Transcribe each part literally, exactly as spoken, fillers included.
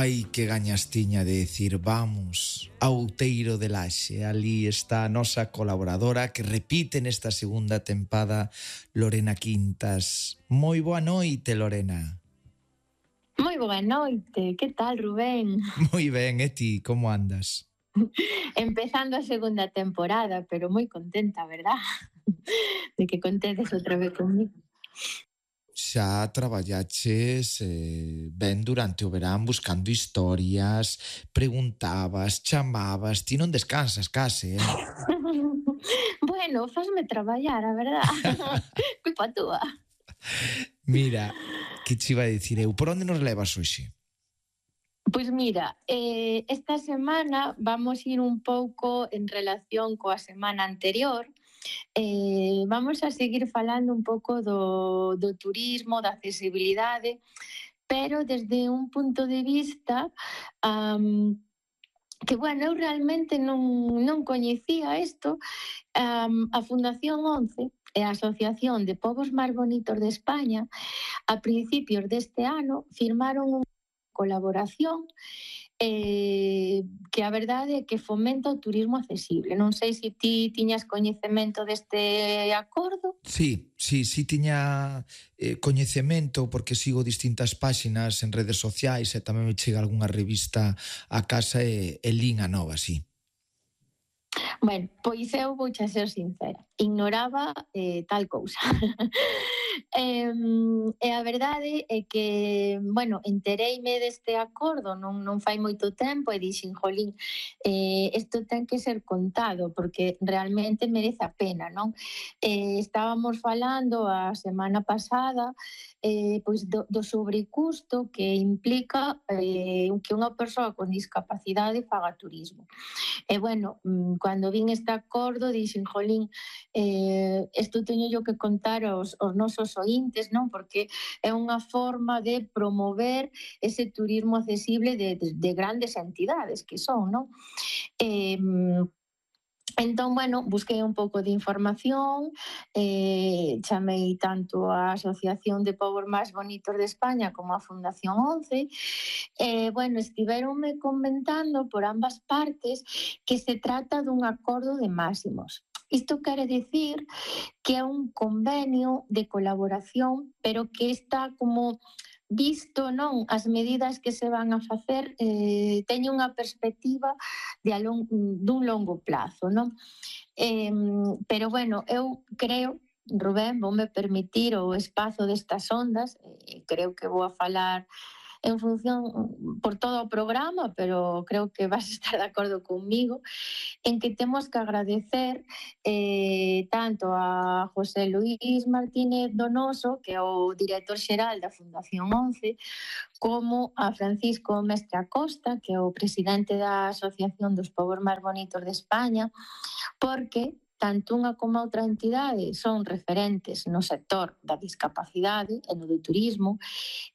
Ai, que gañas tiña de decir vamos ao Outeiro de Laxe. Ali está a nosa colaboradora que repite nesta segunda tempada, Lorena Quintas. Moi boa noite, Lorena. Moi boa noite, que tal, Rubén? Moi ben, e ti, como andas? Empezando a segunda temporada, pero moi contenta, verdad? De que contedes outra vez comigo. Xa traballaches eh, ben durante o verán buscando historias, preguntabas, chamabas, ti non descansas case, eh? Bueno, fasme traballar, a verdad. Culpa túa. Mira, que che iba a dicir eu, por onde nos levas hoxe? Pois mira, eh, esta semana vamos ir un pouco en relación coa semana anterior. Eh, vamos a seguir falando un pouco do, do turismo, da accesibilidade, pero desde un punto de vista um, que, bueno, eu realmente non, non coñecía isto. Um, a Fundación once e a Asociación de Povos Máis Bonitos de España a principios deste ano firmaron unha colaboración eh, que a verdade é que fomenta o turismo accesible. Non sei se ti tiñas coñecemento deste acordo. Sí, sí, sí tiña eh, coñecemento porque sigo distintas páxinas en redes sociais e tamén me chega algunha revista a casa e, e lín a nova, sí. Bueno, pois eu vou xa ser sincera, ignoraba eh, tal cousa. eh, e a verdade é que, bueno, entereime deste acordo non, non fai moito tempo e dixen, jolín, eh, isto ten que ser contado porque realmente merece a pena, non? Eh, estábamos falando a semana pasada eh, pois do, do sobrecusto que implica eh, que unha persoa con discapacidade faga turismo. E, bueno, cando vin este acordo, dixen, jolín, eh, isto teño yo que contar aos, aos nosos ointes, non? Porque é unha forma de promover ese turismo accesible de, de, de grandes entidades que son, non? Eh, Entón, bueno, busquei un pouco de información, eh, chamei tanto a Asociación de Povos Máis Bonitos de España como a Fundación once, e, bueno, estiveronme comentando por ambas partes que se trata dun acordo de máximos. Isto quere dicir que é un convenio de colaboración, pero que está como visto, non, as medidas que se van a facer eh, teñen unha perspectiva de a long, dun longo plazo, non? Eh, pero, bueno, eu creo, Rubén, voume permitir o espazo destas ondas, eh, creo que vou a falar en función por todo o programa, pero creo que vas a estar de acordo conmigo, en que temos que agradecer eh, tanto a José Luís Martínez Donoso, que é o director xeral da Fundación once, como a Francisco Mestre Acosta, que é o presidente da Asociación dos Povos Máis Bonitos de España, porque tanto unha como outra entidade son referentes no sector da discapacidade e no do turismo,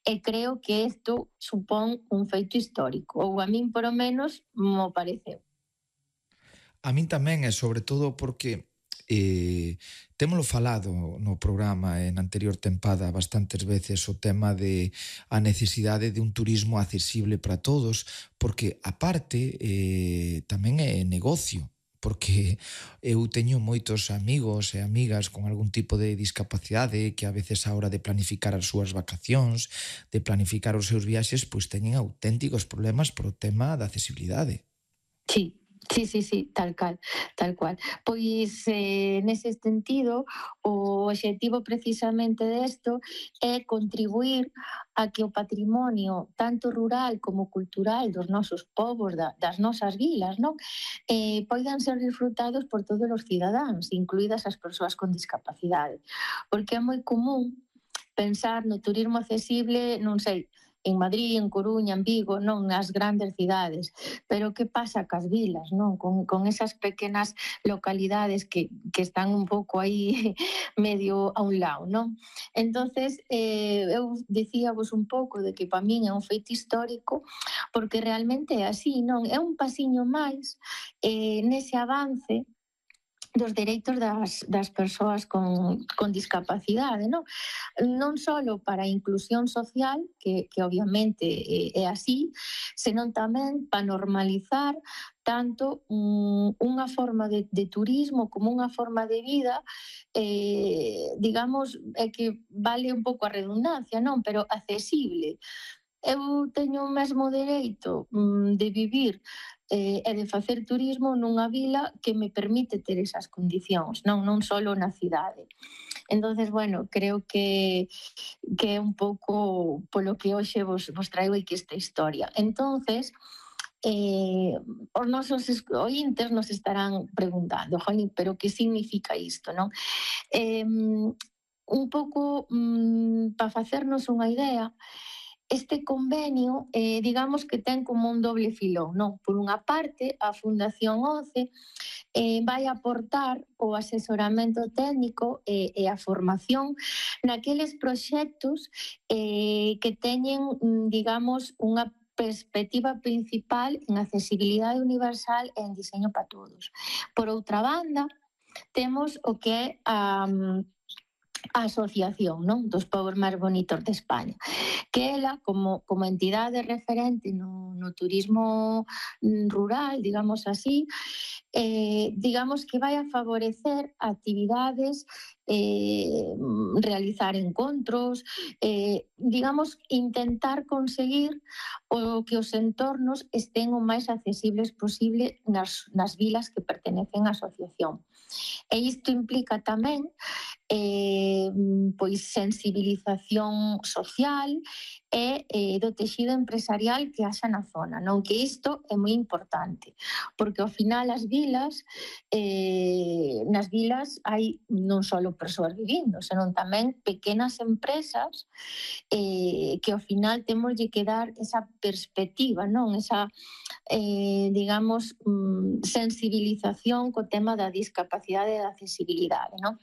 e creo que isto supón un feito histórico, ou a min, por o menos, mo pareceu. A min tamén, e sobre todo porque eh, témolo falado no programa en anterior tempada bastantes veces o tema de a necesidade de un turismo accesible para todos, porque aparte eh, tamén é negocio, porque eu teño moitos amigos e amigas con algún tipo de discapacidade que a veces a hora de planificar as súas vacacións, de planificar os seus viaxes, pois teñen auténticos problemas por o tema da accesibilidade. Sí. Sí, sí, sí, tal cal, tal cual. Pois, eh, nese sentido, o obxectivo precisamente desto é contribuir a que o patrimonio, tanto rural como cultural dos nosos povos, da, das nosas vilas, non? Eh, poidan ser disfrutados por todos os cidadáns, incluídas as persoas con discapacidade. Porque é moi común pensar no turismo accesible, non sei, en Madrid, en Coruña, en Vigo, non nas grandes cidades. Pero que pasa cas vilas, non? Con, con esas pequenas localidades que, que están un pouco aí medio a un lado, non? Entonces, eh, eu dicíavos un pouco de que para min é un feito histórico, porque realmente é así, non? É un pasiño máis eh, nese avance dos dereitos das, das persoas con, con discapacidade, non? Non só para a inclusión social, que, que obviamente é, é así, senón tamén para normalizar tanto um, unha forma de, de turismo como unha forma de vida, eh, digamos, é que vale un pouco a redundancia, non? Pero accesible. Eu teño o mesmo dereito mm, de vivir eh, e de facer turismo nunha vila que me permite ter esas condicións, non non só na cidade. Entonces, bueno, creo que que é un pouco polo que hoxe vos, vos traigo aquí esta historia. Entonces, eh, os nosos ointes nos estarán preguntando, jolín, pero que significa isto, non? Eh, un pouco mm, para facernos unha idea, este convenio, eh, digamos que ten como un doble filón, non? Por unha parte, a Fundación ONCE eh, vai aportar o asesoramento técnico e, e a formación naqueles proxectos eh, que teñen, digamos, unha perspectiva principal en accesibilidade universal e en diseño para todos. Por outra banda, temos o que é a... Um, a Asociación, non? Dos Pobos máis bonitos de España, que ela, como, como entidade referente no, no turismo rural, digamos así, eh, digamos que vai a favorecer actividades, eh, realizar encontros, eh, digamos, intentar conseguir o que os entornos estén o máis accesibles posible nas, nas vilas que pertenecen á asociación. E isto implica tamén eh, pois sensibilización social e eh, do texido empresarial que haxa na zona, non? Que isto é moi importante, porque ao final as vilas, eh, nas vilas hai non só persoas vivindo, senón tamén pequenas empresas eh, que ao final temos que dar esa perspectiva, non? Esa, eh, digamos, mm, sensibilización co tema da discapacidade e da accesibilidade, non?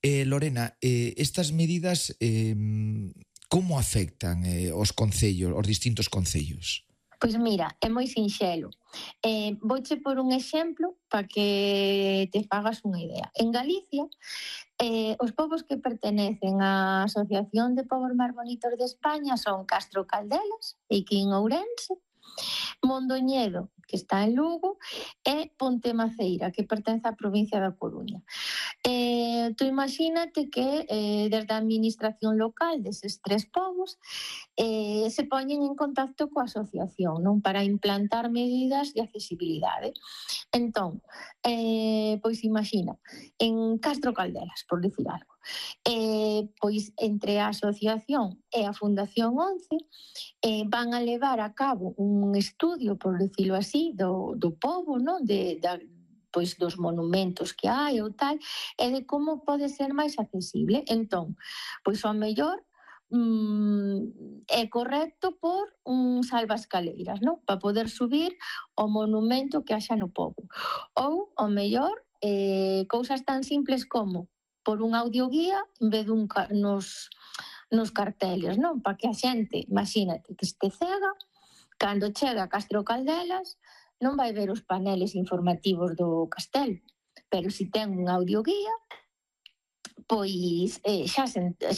Eh, Lorena, eh, estas medidas eh, como afectan eh, os concellos, os distintos concellos? Pois mira, é moi sinxelo. Eh, vouche por un exemplo para que te fagas unha idea. En Galicia, eh, os povos que pertenecen á Asociación de Povos máis bonitos de España son Castro Caldelas, aquí en Ourense, Mondoñedo, que está en Lugo, e Pontemaceira, que pertence á provincia da Coruña. Eh, tú imagínate que eh, desde a administración local deses tres povos eh, se poñen en contacto coa asociación, non, para implantar medidas de accesibilidade. Entón, eh, pois imagina, en Castro Caldelas, por dicir algo, eh, pois entre a asociación e a Fundación ONCE eh, van a levar a cabo un estudio, por dicirlo así, do, do pobo, non, de, da, pois dos monumentos que hai ou tal, e de como pode ser máis accesible. Entón, pois ao mellor mm, é correcto por un salvascaleiras, non? Para poder subir o monumento que haxa no pobo. Ou, ao mellor, eh, cousas tan simples como por un audioguía en vez dun nos, nos carteles, non? Para que a xente, imagínate, que este cega, cando chega a Castro Caldelas, non vai ver os paneles informativos do castelo, pero se ten un audioguía, pois eh, xa, se, xa